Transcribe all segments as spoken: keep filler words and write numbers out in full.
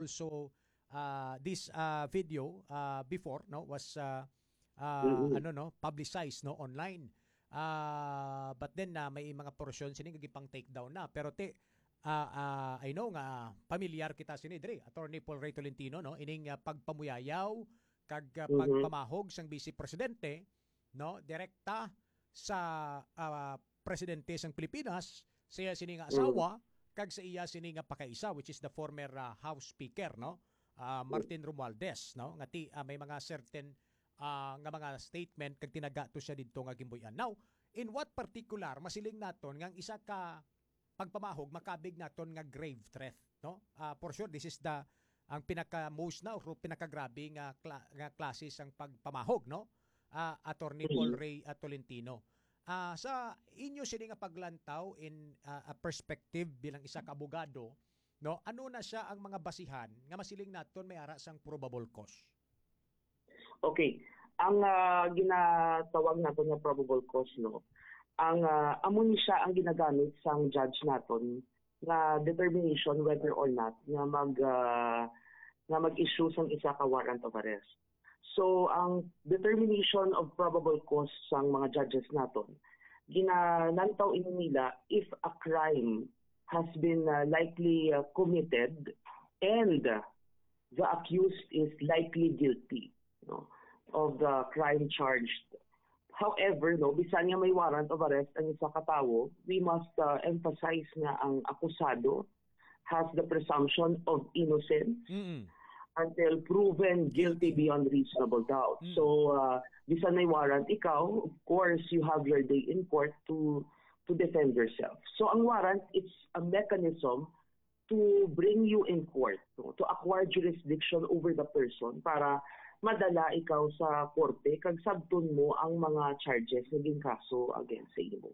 So, uh, this uh, video uh, before, no, was uh, uh, Mm-mm. ano, no, publicized, no, online. Uh, but then uh, may mga portion sini nga gipang take down na. Pero te, uh, uh, I know nga pamilyar kita sini diri, Attorney Paul Ray Tolentino, no, ining uh, pagpamuyayaw kag uh, Mhm. pagpamahog sang Vice Presidente, no, direkta sa uh, presidente sang Pilipinas, sa iya sini nga Mm. asawa, kag sa iya sini nga pakaisa, which is the former uh, House Speaker, no, uh, Martin Romualdez, no, nga ti uh, may mga certain uh, nga mga statement kag tinaga to siya didto nga gimbuy-an. Now, in what particular masiling naton nga ang isa ka pagpamahog makabig naton nga grave threat, no? Uh, for sure, this is the ang pinaka most na o pinakagrabe nga kla- nga klase sang pagpamahog, no? Uh, Attorney Paul Ray uh, Tolentino. Uh, sa inyo sini nga paglantaw in uh, a perspective bilang isa ka abogado, no? Ano na siya ang mga basihan nga masiling naton may ara sang probable cause? Okay. Ang uh, ginatawag nato nga probable cause, no, ang uh, amo ni siya ang ginagamit sang judge naton nga determination whether or not nga mag uh, nga mag-issue sang isa ka warrant of arrest. So ang determination of probable cause sang mga judges naton, ginalantaw ini nila if a crime has been uh, likely uh, committed and the accused is likely guilty, no, of the crime charged. However, no, bisan nga may warrant of arrest ang isa ka tawo, we must uh, emphasize nga ang akusado has the presumption of innocence Mm-mm. until proven guilty beyond reasonable doubt. Mm. So, uh, bisan may warrant ikaw, of course, you have your day in court to to defend yourself. So, ang warrant, it's a mechanism to bring you in court, no? To acquire jurisdiction over the person para madala ikaw sa korte kag sabton mo ang mga charges nga ginkaso against sa imo.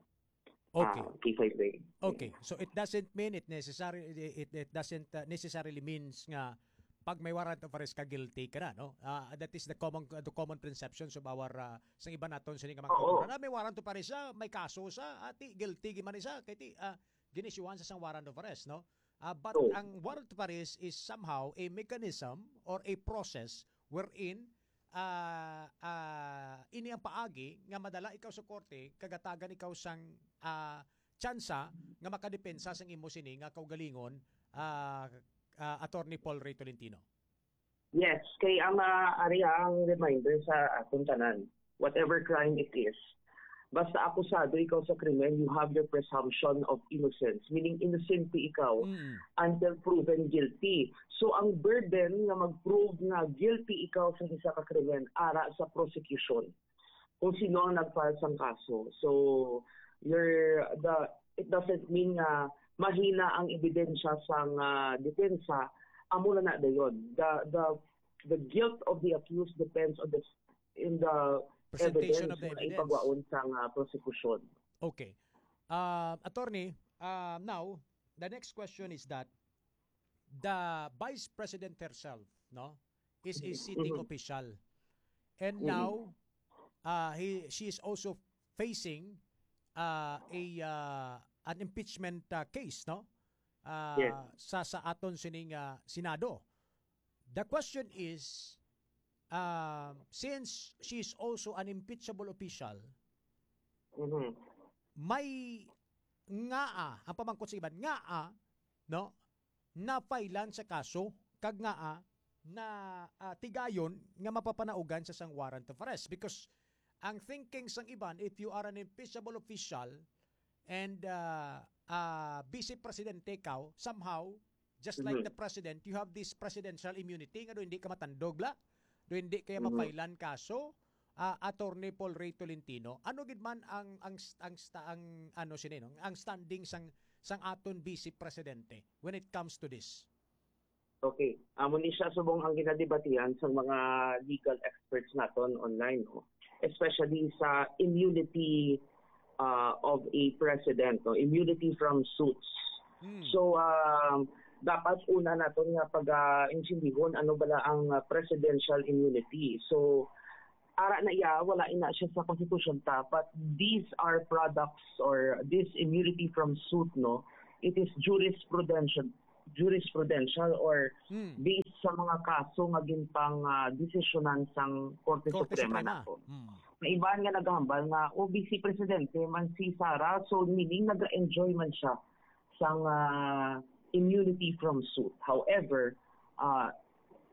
Okay. Ah, K five Ray. Okay. So it doesn't mean it necessary it, it doesn't uh, necessarily means nga pag may warrant of arrest ka, guilty ka na, no? Ah, that is the common the common perceptions of our uh, sa iba naton sini nga mga Oo. kultura. Na may warrant of arrest siya, may kaso siya, ati guilty man siya kay ti uh, ginisyuhan sa sang warrant of arrest, no? Ah, but Oo. Ang warrant of arrest is somehow a mechanism or a process wherein ah ah ini ang paagi nga madala ikaw sa korte kag hatagan ikaw sang ah tsansa nga makadepensa sang imo sini nga kaugalingon, ah, ah, Attorney Paul Ray Tolentino. Yes, kay ang uh, ari ang reminder sa atong tanan, whatever crime it is, basta akusado ikaw sa krimen, you have your presumption of innocence, meaning inosente ikaw Mm. until proven guilty. So ang burden nga mag-prove nga guilty ikaw sa isa ka krimen ara sa prosecution kung sino ang nag-file sang kaso. So you're the it doesn't mean nga mahina ang ebidensya sang uh, depensa, amo na na dayon. The the the guilt of the accused depends on the in the Presentation evidence of the nga evidence. Ipagwaon sang uh, prosecution. Okay. Uh, attorney, uh, now, the next question is that the vice president herself, no, is a sitting Mhm. official. And Mhm. Now, uh, he she is also facing uh, a uh, an impeachment uh, case, no? Uh, Yes. sa sa aton sining uh, Senado. The question is, uh, since she is also an impeachable official, Mhm. may ngaa, ang pamangkot sa iban, ngaa, no, na-filean sa kaso, kag ngaa na ah, tigayon nga mapapanaugan sa sang warrant of arrest? Because ang thinking sang iban, if you are an impeachable official and uh, uh, vice presidente ka, somehow, just like Mhm. the president, you have this presidential immunity nga do hindi ka matandog la, do hindi kaya Mhm. ma-filean kaso, ah, Attorney Paul Ray Tolentino, ano gid man ang ang st- ang sta- ang ano sini, no? Ang standing sang sang aton vice presidente when it comes to this? Okay. Amo ni siya subong ang ginadebatihan sa mga legal experts naton online, no? Especially sa immunity uh, of a president, no? Immunity from suits. Hmm. So, um, dapat una naton nga pag-intindihon ano bala ang uh, presidential immunity. So, ara na iya, wala ina siya sa konstitusyon ta, but these are products or this immunity from suit, no? It is jurisprudential jurisprudential or Hmm. based mga kaso nga ginpang, ah, desisyonan sang Korte Korte Suprema Suprema. nato. Mm. May iban nga nagahambal nga, "O, Vice Presidente man si Sara, so meaning nag-enjoy man siya sang, ah, immunity from suit." However, ah,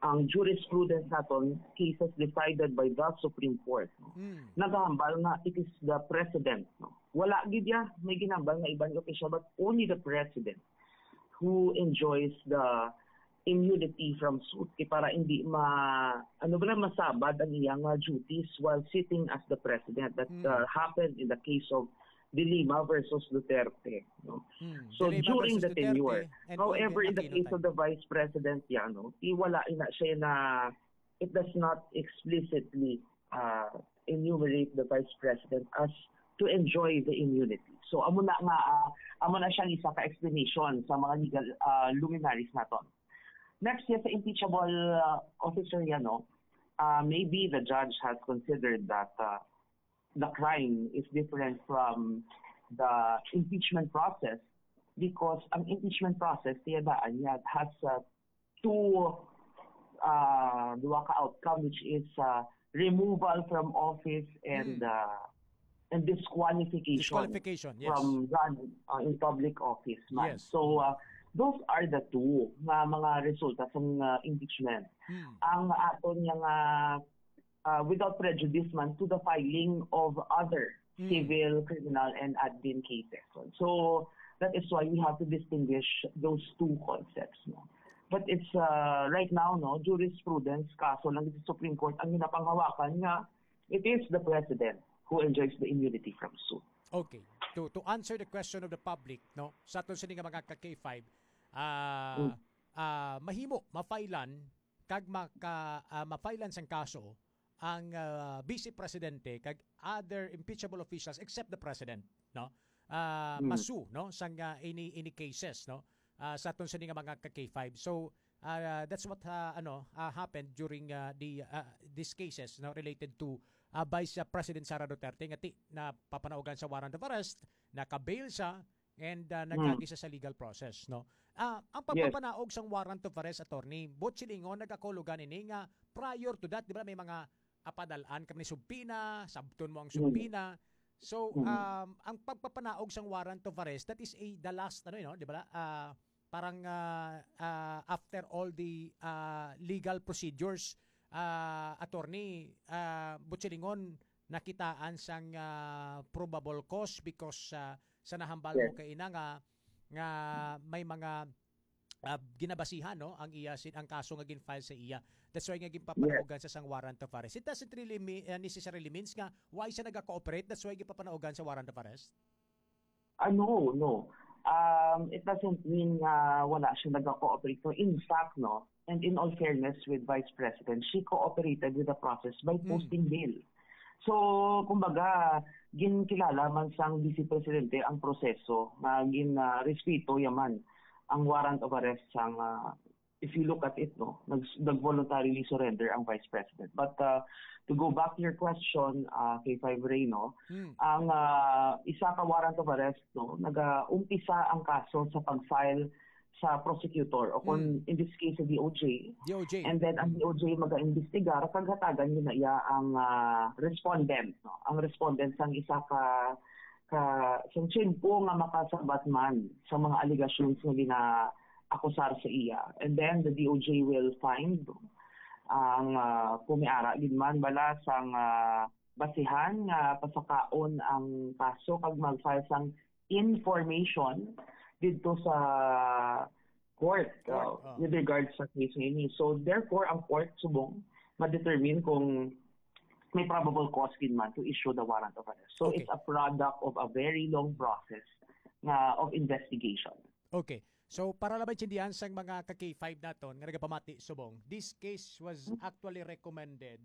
ang jurisprudence naton, cases decided by the Supreme Court, no? Mm. Nagahambal nga it is the president, no? Wala gid ya may ginambal nga iban nga opisyal, but only the president who enjoys the immunity from suit, kay para hindi ma-, ano ba na, masabad ang iyang, uh, duties while sitting as the president. That, Mm. uh, happened in the case of De Lima versus Duterte, no? Mm. So, De Lima during versus the Duterte tenure. and However, Vivian in the Aquino case time. of the vice president, ya, no, i-, wala ina siya na, it does not explicitly, uh, enumerate the vice president as to enjoy the immunity. So, amo na nga, ah, amo na siyang isa ka explanation sa mga legal, ah, luminaries naton. Next, yes, sa impeachable, ah, officer yan, no? Ah, maybe the judge has considered that, ah, the crime is different from the impeachment process because ang impeachment process, tiyadaan niya, has, ah, two, ah, duha ka outcome, which is, ah, removal from office and, Hmm. ah, and disqualification Disqualification, yes. from run, ah, in public office man. Yes. So, ah, those are the two nga mga resulta sa, ah, impeachment. Hmm. Ang aton nga, ah, without prejudice man to the filing of other Hmm. civil, criminal, and admin cases. So, that is why we have to distinguish those two concepts, no? But it's, uh, right now, no, jurisprudence, kaso lang sa Supreme Court ang ginapanghawakan nga it is the president who enjoys the immunity from suit. Okay. To to answer the question of the public, no, sa aton sini nga mga ka K five, ah, Mm. ah, mahimo mafailan kag maka, ah, mafailan sang kaso ang, ah, vice presidente kag other impeachable officials except the president, no? Ah, Mm. masu, no, sang, ah, any, any cases, no? Ah, sa aton sini nga mga ka K five. So, ah, that's what, ah, ano, ah, happened during, ah, the, ah, these cases, no, related to, ah, Vice, ah, President Sara Duterte nga ti napapanaugan sa warrant of arrest, naka-bail siya, and, ah, Hmm. nagagi siya sa legal process, no? Ah, ang Yes. pagpapanaog sang warrant of arrest, attorney, buot silingon, nagakahulugan ini nga prior to that, di ba, may mga, ah, padal-an kami ni subpoena, sabton mo ang Hmm. subpoena. So, Hmm. um, ang pagpapanaog sang warrant of arrest, that is a, the last, ano, you know, di ba, ah, parang, ah, ah, after all the, ah, legal procedures, ah, attorney, ah, buot silingon, nakitaan sang, ah, probable cause because, ah, sa nahambal Yes. mo kaina nga, nga may mga, ah, ginabasihan, no, ang iya sin-, ang kaso nga gin-file sa iya. That's why nga ginpapanaugan Yes. sa sang warrant of arrest. It doesn't really mean, ah, necessarily means nga why siya naga-cooperate, that's why ginpapanaugan sa warrant of arrest. Ah, no, no. Um, it doesn't mean nga wala siya nag-cooperate. No, in fact, no, and in all fairness with Vice President, she cooperated with the process by Hmm. posting bail. So, kumbaga, ginkilala man sang Vice Presidente ang proseso nga gin, ah, respeto yaman ang warrant of arrest sang, ah, if you look at it, no, nag-, nag-voluntarily surrender ang Vice President. But, uh, to go back to your question, uh, K five Ray, no, Hmm. ang, uh, isa ka warrant of arrest, no, nag-umpisa ang kaso sa pag-file sa prosecutor o kung Hmm. in this case sa D O J. D O J. And then ang Hmm. D O J mag-imbestigar kag hatagan nila iya ang, uh, respondent, no. Ang respondent sang isa ka ka, sang tiyempo nga makasabat man sa mga allegations nga ginaakusar sa iya. And then the D O J will find ang, ah, kung may ara gid man bala sang, ah, basihan nga pasakaon ang kaso kag mag-file sang information didto sa court, Court, uh, oh. with regards sa case nga ini. So therefore, ang court subong ma-determine kung may probable cause gid man to issue the warrant of arrest. So Okay. it's a product of a very long process nga of investigation. Okay. So, para lang maintindihan sang mga ka K five naton nga nagapamati subong, this case was Hmm. actually recommended,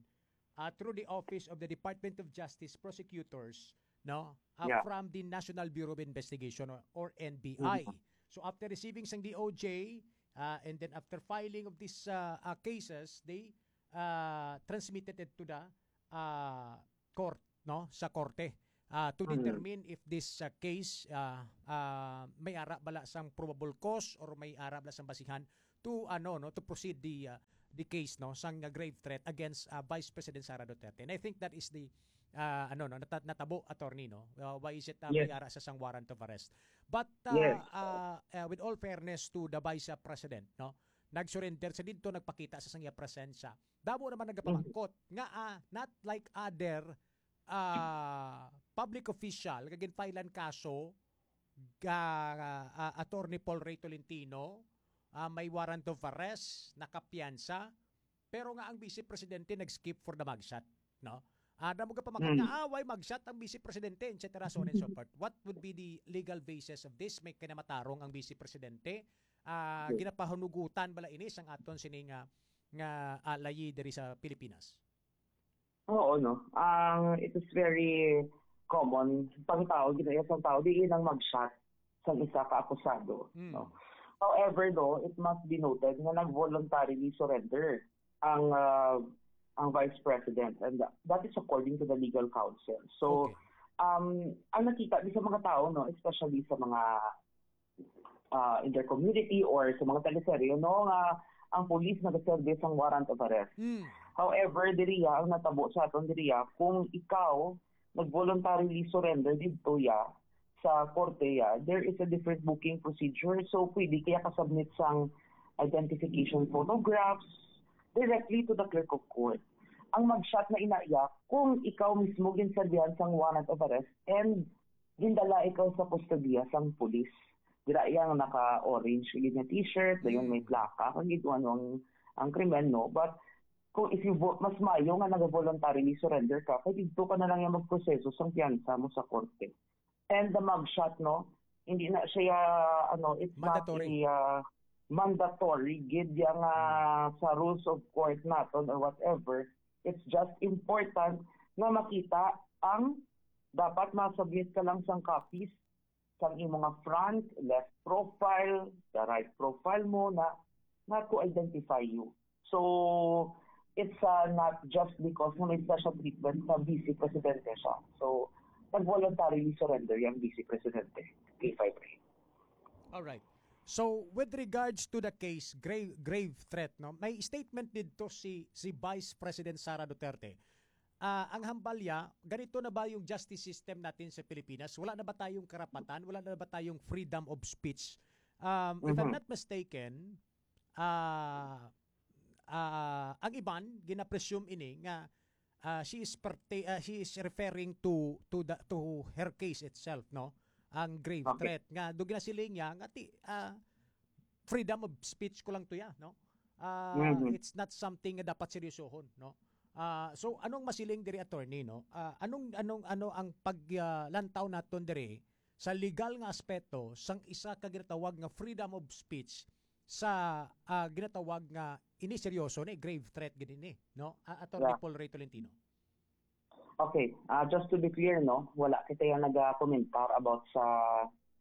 uh, through the Office of the Department of Justice Prosecutors, no? Uh, Yeah. from the National Bureau of Investigation or, or N B I. Mm-hmm. So, after receiving sang D O J, uh, and then after filing of these, uh, uh, cases, they, uh, transmitted it to the, uh, court, no? Sa korte, uh, to Mm. determine if this, uh, case, uh, uh, may ara bala sang probable cause or may ara bala sang basihan to, ano, no, to proceed the, uh, the case, no, sang, uh, grave threat against, uh, Vice President Sara Duterte. And I think that is the, uh, ano, no, nata-, natabo, attorney, no? Uh, why is it, uh, may ara sa sang warrant of arrest? But, uh, uh, uh, with all fairness to the Vice, uh, President, no, nag-surrender sa didto, nagpakita sa sang iya presensya. Damo naman nagapamangkot nga, ah, not like other, ah, public official nga ginfilean kaso ga, ah, Attorney Paul Ray Tolentino, ah, may warrant of arrest, nakapiyansa, pero nga ang Vice Presidente nag-skip for the mugshot, no? Ah, damo gapamangkot nga, ah, why mugshot ang Vice Presidente, et cetera, so on and so forth. What would be the legal basis of this? May kinamatarong ang Vice Presidente? Ah, ginapahunugutan bala ini sang aton sini nga, nga, ah, layi diri sa Pilipinas? Oo, no. Ang, it is very common. Pang tao, ginaiya sang tao, diin ang mugshot sang isa ka akusado, Mm. no? However, though, it must be noted nga nag-voluntarily surrender ang, ah, ang Vice President, and that is according to the legal counsel. So, Okay. um, ang nakita di sa mga tao, no, especially sa mga, ah, in their community or sa mga teleserye, no, nga ang police nagaserve sang warrant of arrest. Mm. However, diriya, ang natabo sa aton diriya, kung ikaw nag-voluntarily surrender didto ya sa korte ya, there is a different booking procedure. So, pwede kaya ka-submit sang identification photographs directly to the clerk of court. Ang mugshot na ina ya kung ikaw mismo ginserbihan sang warrant of arrest and gindala ikaw sa kustodiya sang pulis. Dira iya nga naka-orange gid nga t-shirt, dayon may plaka, kag gid ano ang, ang krimen, no? But kung if you vo-, mas mayo nga nag-voluntarily surrender ka, kay didto ka na lang yung magproseso sang piyansa mo sa korte. And the mugshot, no? Hindi na siya, ano, it's Mandatory. not a, uh, mandatory gid yang, uh, sa rules of court naton or whatever. It's just important nga makita ang dapat ma-submit ka lang sang copies sang imo nga front, left profile, the right profile mo na, na to identify you. So, it's, uh, not just because nga may special treatment sa Vice Presidente siya. So, nag-voluntarily surrender yung Vice Presidente, K five A. Alright. So, with regards to the case, grave, grave threat, no? May statement dito si, si Vice President Sara Duterte. Ah, ang hambal niya, ganito na ba yung justice system natin sa Pilipinas? Wala na ba tayong karapatan? Wala na ba tayong freedom of speech? Um, if I'm Mhm. not mistaken, ah, ah, ang iban, gina-presume ini nga, ah, she is perte-, ah, she is referring to, to the, to her case itself, no? Ang grave Okay. threat nga, do ginasiling niya nga ti-, ah, freedom of speech ko lang to ya, no? Ah, Mhm. it's not something nga dapat seryosohon, no? Ah, so anong masiling diri, attorney, no? Ah, anong, anong, ano ang pag, ah, lantaw naton diri sa legal nga aspeto sang isa ka ginatawag nga freedom of speech sa, ah, ginatawag nga ini seryoso ni, grave threat gid ini, no? Ah, Attorney Yeah. Paul Ray Tolentino. Okay, ah, just to be clear, no, wala kita yung nagakomentar about sa,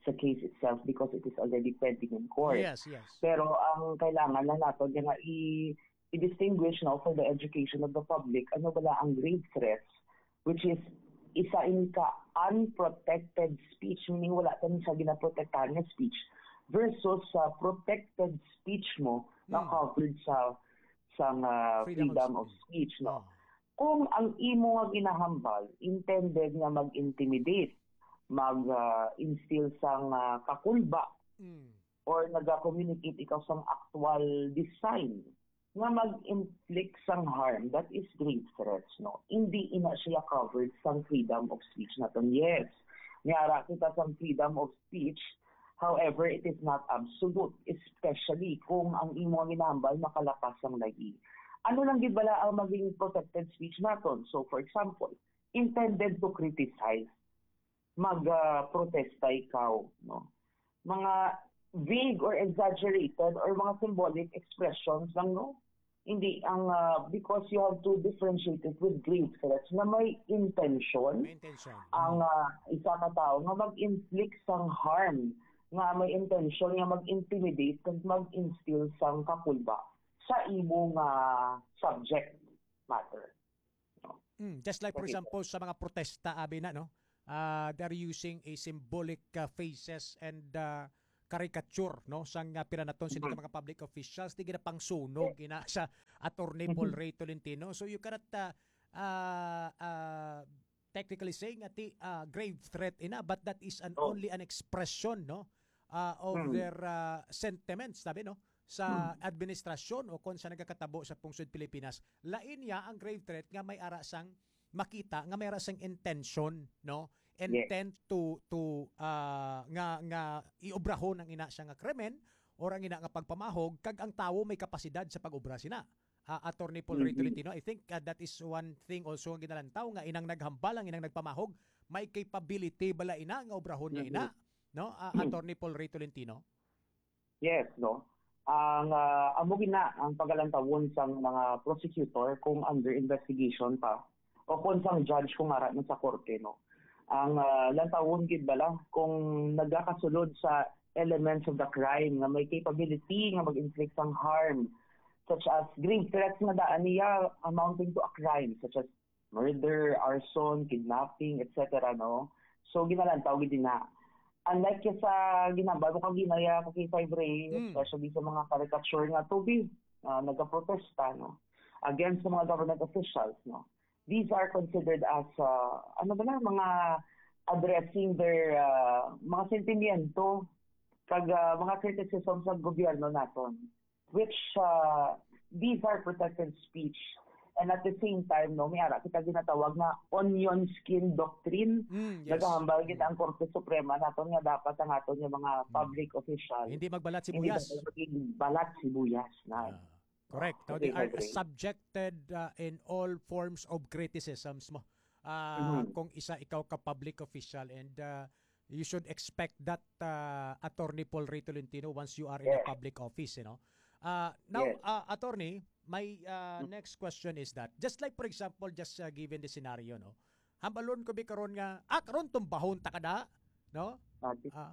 sa case itself because it is already pending in court. Yes, yes. Pero ang kailangan lang nato nga i-, i-distinguish, no, for the education of the public, ano bala ang grave threats, which is isa ini ka unprotected speech, meaning wala ka sa ginaprotektahan nga speech, versus sa protected speech mo na Hmm. covered sa, sa, ah, Freedom of freedom of speech. speech, no? Oh. Kung ang imo nga ginahambal intended nga mag-intimidate, mag, ah, instill sang, ah, kakulba, Mm. or naga-communicate ikaw sang actual design nga mag-inflict sang harm, that is grave threats, no? Hindi ina siya covered sang freedom of speech naton. Yes, may ara kita sang freedom of speech. However, it is not absolute, especially kung ang imo nga ginahambal makalapas sang layi. Ano lang gid bala ang maging protected speech naton? So, for example, intended to criticize, mag, ah, protesta ikaw, no? Mga vague or exaggerated or mga symbolic expressions lang, no? Hindi ang, ah, because you have to differentiate it with grave threats na may intention May intention. ang, ah, isa ka tao nga mag-inflict sang harm, nga may intention nga mag-intimidate kag mag-instill sang kakulba sa imo nga subject matter. Mm, just like, for Kasi example, sa mga protesta, abi na, no? Ah, they're using a symbolic, ah, faces and, ah, caricature, no, sang, ah, pira naton sini ka mga public officials, di ginapangsunog ina sa Attorney Paul Ray Tolentino. So you cannot, ah, ah, ah, technically say nga ti, ah, grave threat ina, but that is an Oh. only an expression, no, ah, of Mm. their, ah, sentiments, sabi, no, sa Mm. administrasyon o kon sa nagakatabo sa pungsod Pilipinas. Lain niya ang grave threat nga may ara sang makita nga may ara sang intention, no? Yes. Intent to, to, ah, nga, nga iobrahon ang ina siya nga krimen or ang ina nga pagpamahog, kag ang tawo may kapasidad sa pag-obra sina. Ah, Attorney Paul Ray Mhm. Tolentino, I think, ah, that is one thing also nga ginalantaw, nga inang naghambal, ang inang nagpamahog, may capability bala ina nga obrahon niya Mhm. ina, no? Ah, Mhm. Attorney Paul Ray Tolentino? Yes, no? Ang, ah, amo gina ang pagalantawon sang mga prosecutor kung under investigation pa o kung sang judge kung ara na sa korte, no? Ang, ah, lantawon gid bala kung nagakasulod sa elements of the crime nga may capability nga mag-inflict sang harm, such as grave threats nga daan niya amounting to a crime, such as murder, arson, kidnapping, et cetera, no? So, ginalantaw gid na. Unlike kay sa ginambal mo kag ginaya ko kay Five Ray, Mm. especially sa mga caricature nga to be, ah, nagaprotesta, no? Against sa mga government officials, no? These are considered as, ah, ano ba na, mga addressing their, ah, mga sentimiento kag, ah, mga criticism sa gobyerno naton, which, ah, these are protected speech. And at the same time, no, may ara kita ginatawag nga onion skin doctrine. Mm, yes. Nagahambal gid Mm. ang Korte Suprema naton nga dapat ang aton nga mga Mm. public official Hindi magbalat hindi sibuyas. dapat maging balat sibuyas na. Ah, correct. No, Okay, they are Five Ray. subjected, uh, in all forms of criticisms mo. Ah, Mhm. kung isa ikaw ka public official and, uh, you should expect that, uh, Attorney Paul Ray Tolentino once you are in a Yes. public office, you know. Uh, now, Yes. uh, Attorney, my, uh, Mm. next question is that, just like, for example, just, uh, given the scenario, no? Hambalon ko bi karon nga, ah, karon tumbahon ta kada, no? Ati. Ah.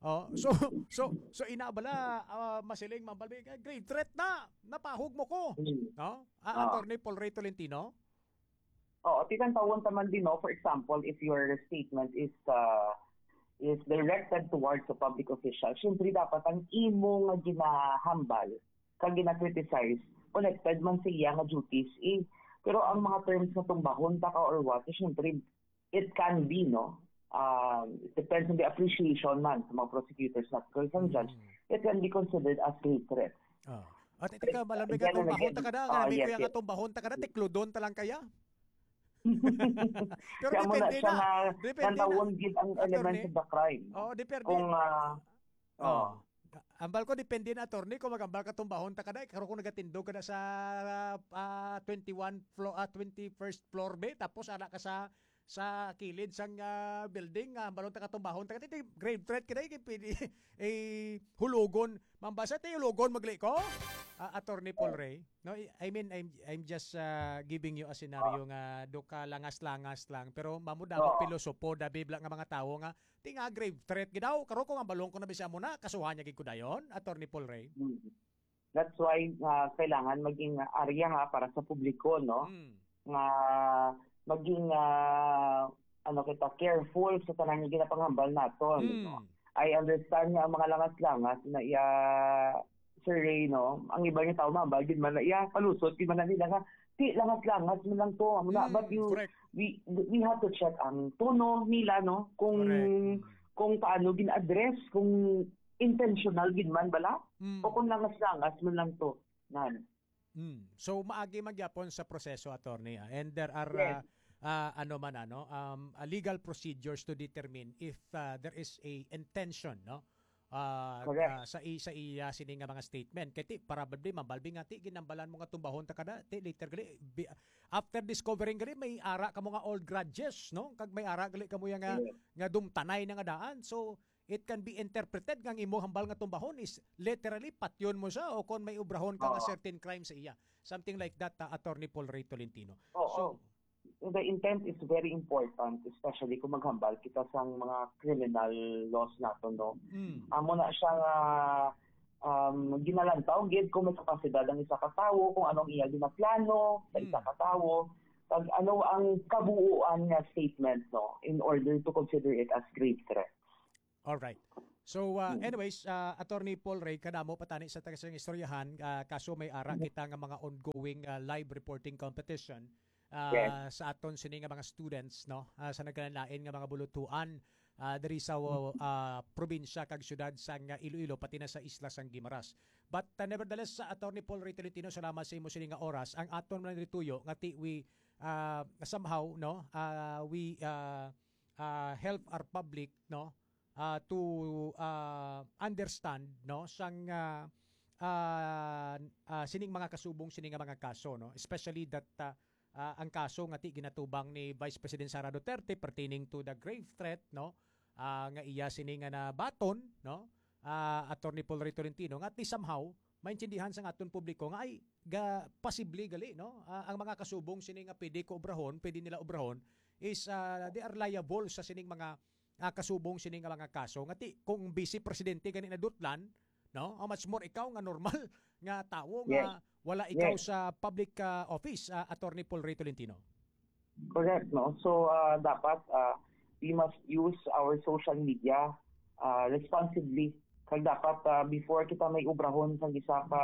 Oh, so, so, so ina bala, ah, masiling mambal bi, "Grave threat na, napahog mo ko." Mm. No? Ah, Ah. Attorney Paul Ray Tolentino? Oo, titan-tawon ta man din, no? For example, if your statement is, uh, is directed towards a public official, syempre dapat ang imo nga ginahambal kag gina-criticize connected man sa iya nga duties, eh. Pero ang mga terms nga tumbahon ta ka or what, eh, syempre, it can be, no? Um, it depends on the appreciation man sa mga prosecutors na kag sa judge. Mm. It can be considered as grave threat. Ah. At ito ka, malamig Again and atong bahon again. ta ka na, Ah, grabe yes, kaya yes. nga atong bahon ta ka na, tiklodon ta lang kaya. Pero Kaya mo na depende siya na. na Depende na. nantawon gid ang Attorney. elements of the crime. Oo, depende. Kung, ah, Oh. oh. Ambal ko, depende na, attorney, kung magambal ka tumbahon ta ka na, eh, karon kung nagatindog ka na sa, ah, twenty-one floor, ah, twenty-first floor, be, tapos ana ka sa, sa kilid sang, ah, building, ah, ambalon ta ka tumbahon ta ka, ti, ti, grave threat ka na, eh, pwede, eh, hulugon. Mambasa, ti, hulugon, magli ko? Ah, Attorney Paul Oh. Ray? No, I, I mean, I'm, I'm just, ah, giving you a scenario Ah. nga do ka langas-langas lang, pero mamo damo Oo. pilosopo, da bibla nga mga tawo nga, ti nga grave threat gid daw. Karon kung ambalon ko na bisya mo na, kasuhan niya gid ko dayon, Attorney Paul Ray. Mm. That's why, ah, kailangan maging area ha para sa publiko, no? Mm. Nga maging, ah, ano kita, careful sa tanan nga ginapanghambal naton, Mm. no? I understand nga ang mga langas-langas na iya, Sir Ray, no? Ang iba nga tao, mambal gid man na iya, palusot gid man na nila nga, "Ti, langas-langas man lang to." Amo na, Mm, but you, correct. we, we have to check ang tono nila, no? Kung, Correct. Mm. kung paano gin-address, kung intentional gid man bala, Mm. o kung langas-langas man lang to. Nan. Mm. So, maagi man gyapon sa proseso, attorney, ah. And there are, Yes. ah, ah, ano man, ano, um, ah, legal procedures to determine if, ah, there is a intention, no? Ah, Correct. ah, sa i-, sa iya sini nga mga statement. Kay ti, probably, mabalbi nga ti, ginambalan mo nga tumbahon ta ka na, ti, later gali, bi-, after discovering gali, may ara ka mo nga old grudges, no? Kag may ara gali ka mo ya nga, Yes. nga dumtanay na nga daan. So, it can be interpreted nga ang imo hambal nga tumbahon is literally patyon mo siya o kon may obrahon ka nga Oo. certain crime sa iya. Something like that, ah, Attorney Paul Ray Tolentino. Oo. So, The intent is very important, especially kung maghambal kita sang mga criminal laws naton, no? Mm. Amo na siya nga, um, ginalantaw gid kung may kapasidad ang isa ka tawo, kung anong iya ginaplano sa Mm. isa ka tawo, kag ano ang kabuuan nga statement, no, in order to consider it as grave threat. All right. So, uh, Mm. anyways, uh, Attorney Paul Ray, kadamo pa tani sa taga sa istoryahan, uh, kaso may ara kita nga mga ongoing, uh, live reporting competition, uh, Yes. sa aton sini nga mga students, no? Uh, sa nagkalain-lain nga mga bulutuan, uh, diri sa, uh, probinsya kag syudad sang, uh, Iloilo, pati na sa isla sang Guimaras. But, uh, nevertheless, sa Attorney Paul Ray Tolentino, salamat sa imo sini nga oras. Ang aton man diri tuyo nga ti we, uh, somehow, no, uh, we, uh, uh, help our public, no, uh, to, uh, understand, no, sang, uh, uh, uh, sining mga kasubong sini nga mga kaso, no, especially that, uh, uh, ang kaso nga ti ginatubang ni Vice President Sara Duterte pertaining to the grave threat, no, uh, nga iya sini nga nabaton, no, uh, Attorney Paul Ray Tolentino, nga ti somehow maintindihan sang aton publiko nga ay ga, posible gali, no? Ah, ang mga kasubong sini nga pwede ko obrahon, pwede nila obrahon is, ah, they are liable sa sining mga, ah, kasubong sini nga mga kaso. Nga ti, kung vice presidente gani nadutlan, no? How much more ikaw nga normal nga tawo Yes. nga wala ikaw Yes. sa public, ah, office, ah, Attorney Paul Ray Tolentino? Correct, no? So, ah, dapat, ah, we must use our social media, ah, responsibly. Kag dapat, ah, before kita may obrahon sa isa ka,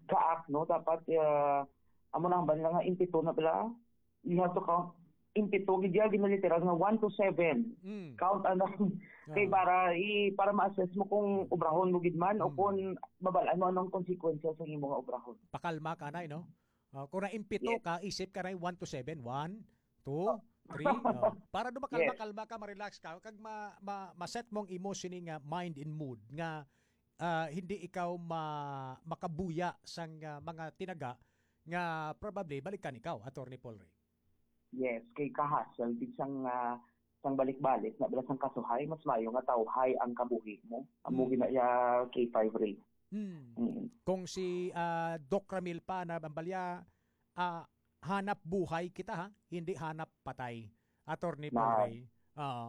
ka act, no? Dapat, ah, amo na ang bala nga impito na bala. You have to count impito, gid yan, ginaliteral nga one to seven. Mm. Count ano. Kay Ah. para, i, para ma-assess mo kung obrahon mo gid man o Mm. kung mabalaan mo anong konsekwensya sa imo nga obrahon. Pakalma ka, Nay, no? Ah, kung naimpito Yes. ka, isip ka na one to seven. One, two, Oh. three. Oh. Para do makalma-kalma Yes. ka, ma-relax ka, kag ma, ma, ma-set mo ang imo sini nga mind and mood nga, ah, hindi ikaw ma, makabuya sang, ah, mga tinaga nga probably balikan ikaw, Attorney Paul Ray. Yes, kay kahasol gid sang, ah, sang balik-balik na bala sang kasuhay, mas maayo nga tawhay ang kabuhi mo. Amo Mm. gina ya K five Ray. Hmm. Mm. Kung si, ah, Doc Ramil pa na ang balya, ah, hanap buhay kita, ha, hindi hanap patay. Attorney Paul Na. Ray. Oo.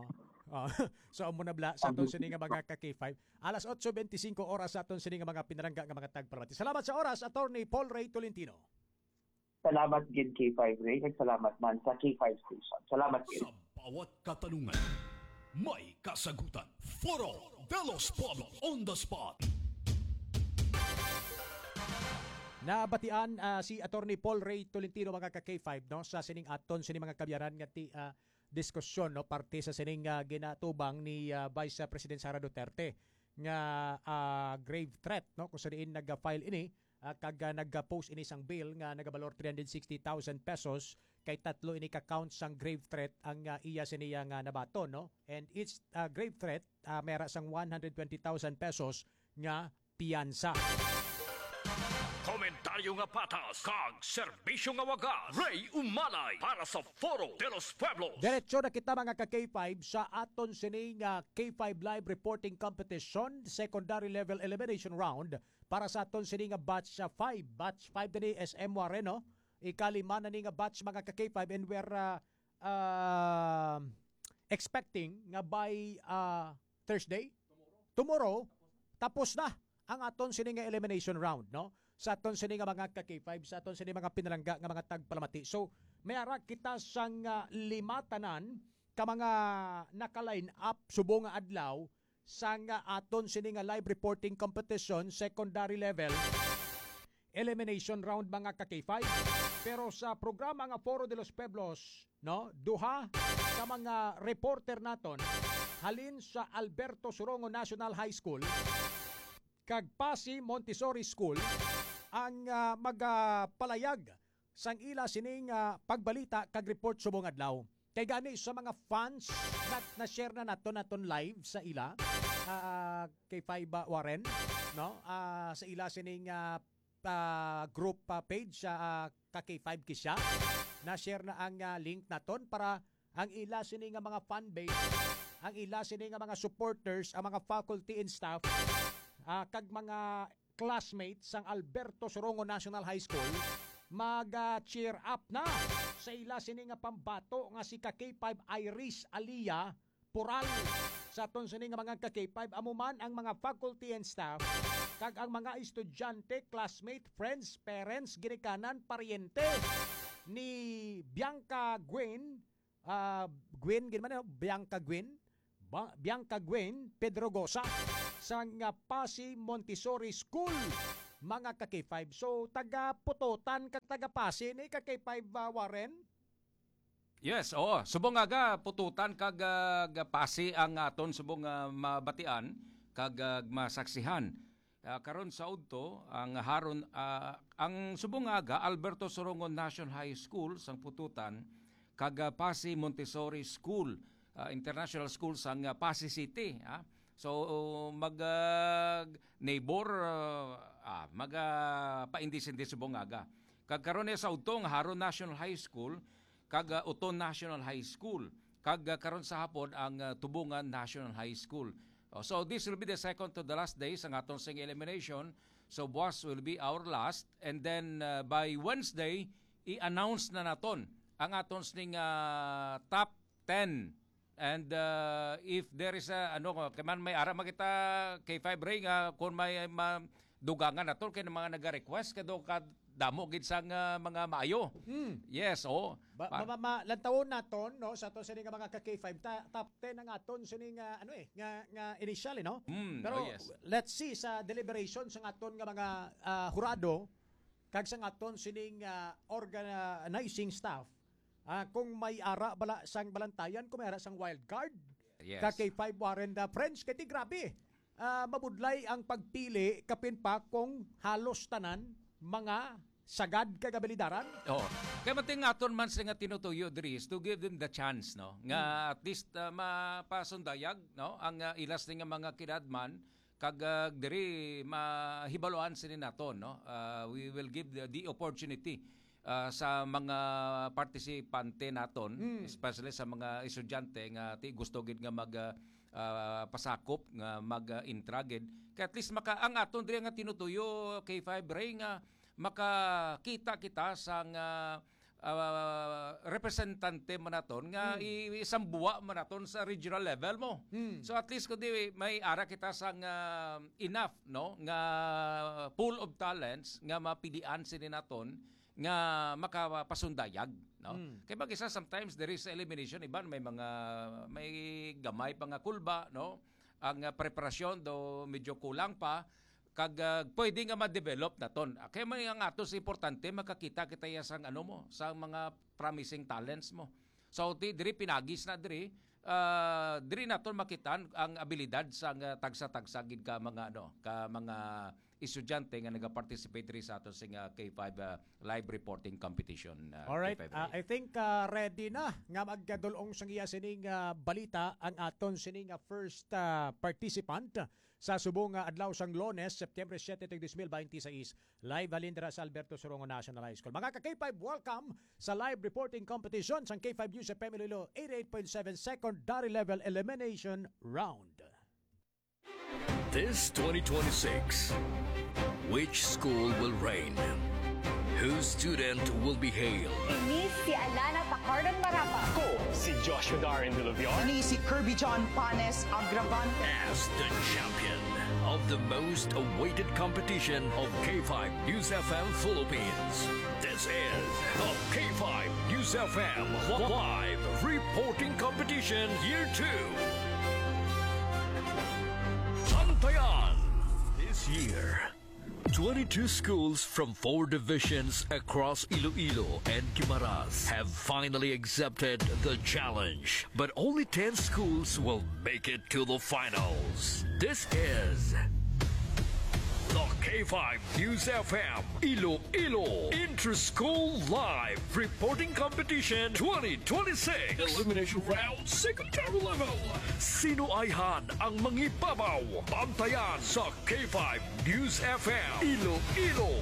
Oo. So, amo na bala sa aton Ang sini nga mga ka K five. Alas otso bente singko oras sa aton sini nga mga pinalangga nga mga tagpalamati. Salamat sa oras, Attorney Paul Ray Tolentino. Salamat gid, K five Ray. Nagsalamat man sa K five Station. Salamat gid. Sa bawat katanungan, may kasagutan. Foro de los Pueblos on the spot. Nabatian, ah, si Attorney Paul Ray Tolentino, mga ka K five, no, sa sining aton, sining mga kabyaran nga ti, ah, diskusyon, no, parte sa sining, ah, ginatubang ni, ah, Vice President Sara Duterte nga, ah, grave threat, no, kung sa diin nag-file ini, ah, kag, ah, nag-post ini sang bill nga nagabalor three hundred sixty thousand pesos, kay tatlo ini ka counts sang grave threat ang, ah, iya siniya nga nabaton, no? And each, ah, grave threat, ah, may ara sang one hundred twenty thousand pesos nga piyansa. Komentaryo nga patas kag serbisyo nga wagas. Ray Umalay para sa Foro de los Pueblos. Diretso na kita, mga ka K five, sa aton sini nga K five Live Reporting Competition, Secondary Level Elimination Round, para sa aton sini nga batch, ah, five. Batch five na ni S M Warren, no? Ikalima na ni nga batch, mga ka K five, and we're, ah, ah, expecting nga by, ah, Thursday, tomorrow, tapos na ang aton sini nga elimination round, no? Sa aton sini nga mga ka K five, sa aton sini mga pinalangga nga mga tagpalamati. So, may ara kita sang, ah, lima tanan ka mga naka-line up subong nga adlaw sang, ah, aton sini nga live reporting competition, secondary level elimination round, mga ka K five. Pero sa programa nga Foro de los Pueblos, no, duha ka mga reporter naton halin sa Alberto Sorongo National High School kag Pasi Montessori School ang, ah, magapalayag sang ila sining, ah, pagbalita kag report subong adlaw. Kay gani sa mga fans, na, na-share na naton, naton live sa ila, ah, K five, ah, Warren, no? Ah, sa ila sining, ah, ah, group, ah, page, ah, ka K five Kisha. Na-share na ang, ah, link naton para ang ila sini nga mga fan base, ang ila sini nga mga supporters, ang mga faculty and staff, ah, kag mga classmates sang Alberto Sorongo National High School, mag, ah, cheer up na sa ila sini nga pambato nga si ka K five Iris Alia Pural. Sa aton sini nga mga ka K five, amo man ang mga faculty and staff, kag ang mga estudyante, classmate, friends, parents, ginikanan, paryente ni Bianca Gwen, ah, Gwen, gid man, no? Bianca Gwen, Ba-, Bianca Gwen Pedrogosa sang, ah, Pasi Montessori School, mga ka-K five. So, taga Pututan kag taga Pasi ni ka-K five, ah, Warren? Yes, oo. Subong nga ga, Pututan kag, ah, ga Pasi ang aton subong nga mabatian kag, ah, masaksihan. Ah, karon sa udto, ang haron, ah, ang subong nga aga, Alberto Sorongon National High School sang Pututan kag, ah, Pasi Montessori School, ah, International School sang, ah, Pasi City, ah. So, mag, ah, neighbor, ah, ah, mag, ah, paindis-indis subong nga aga. Kag karon ni sa udto, ang Haron National High School kag, ah, Uton National High School, kag, ah, karon sa hapon ang, ah, Tubungan National High School. Oh, so this will be the second to the last day sa aton sing elimination. So buwas will be our last, and then, ah, by Wednesday i-announce na naton ang aton sing, ah, top ten. And, ah, if there is a, ano, kay man may ara makita, K five Ray, nga kung may, ma-, dugangan naton kay mga naga-request kay do ka damo gid sang, ah, mga maayo. Hmm. Yes, oh. Ba-, Pa- ma-, ma-, lantawon naton, no, sa aton sini nga mga ka-K five, ta-, top ten ang aton sini nga, ano eh, nga, nga initial, eh, no? Hmm, Pero oh, yes. Let's see sa deliberation sa aton nga mga, ah, hurado kag sa aton sining, ah, organizing staff, ah, kung may ara bala sang balantayan, kung may ara sang wild card, Yes. ka K five Warren the French, kay ti grabe. Ah, mabudlay ang pagpili, kapin pa kung halos tanan mga sagad kag abilidaran. Oo. Kay mating aton man sila nga tinutuyo diri is to give them the chance, no? Nga Hmm. at least, ah, mapasundayag, no? Ang, ah, ilas nga mga kidadman, kag, ah, diri mahibaluan sini naton, no? Ah, we will give the, the opportunity, ah, sa mga partisipante naton, Mm. especially sa mga estudyante nga ti gusto gid nga mag, ah, ah, pasakop nga mag, ah, intra gid. Kay at least maka-, ang aton diri nga tinutuyo, K five Ray, nga makakita kita sang, ah, ah, representante man naton nga Hmm. i-, isambuwa man naton sa regional level mo. Hmm. So at least kundi may ara kita sang, ah, enough, no, nga pool of talents nga mapilian sini naton nga makapasundayag, no? Hmm. Kay mag-isa sometimes there is elimination, iban may mga, may gamay pa nga kulba, no? Ang, ah, preparasyon do medyo kulang pa, kag, ah, pwede nga ma-develop naton. Ah, kaya man ang atos importante, makakita kita ya sang ano mo, sa mga promising talents mo. So, di, diri pinagis na diri, ah, diri naton makitaan ang abilidad sa nga tagsa-tagsa gid ka mga, ano, ka mga estudyante nga nagaparticipate diri sa aton sing, ah, K five, ah, live reporting competition, ah, Alright, K five ah, Ray. I think, ah, ready na nga magkadulong sang iya sining, ah, balita ang aton sining, ah, first, ah, participant sa subong nga adlaw sang Lunes, September siete, tuig dos mil baynte sais, live halin dira sa Alberto Sorongo National High School. Mga ka-K five, welcome sa live reporting competition sang K five News F M Iloilo eighty-eight point seven Secondary Level Elimination Round. This twenty twenty-six, which school will reign? Whose student will be hailed? Ini si Alana Tacardan Marapa. Ko si Joshua Darren Duluvion. Ini si Kirby John Panes Agraban. As the champion of the most awaited competition of K five News F M Philippines. This is the K five News F M Live Reporting Competition Year two. Bantayan. This year, twenty-two schools from four divisions across Iloilo and Guimaras have finally accepted the challenge. But only ten schools will make it to the finals. This is the K five News F M Iloilo Inter-School Live Reporting Competition twenty twenty-six. Elimination Round, Secondary Level. Sino ayhan ang mangibabaw? Bantayan sa K five News F M Iloilo.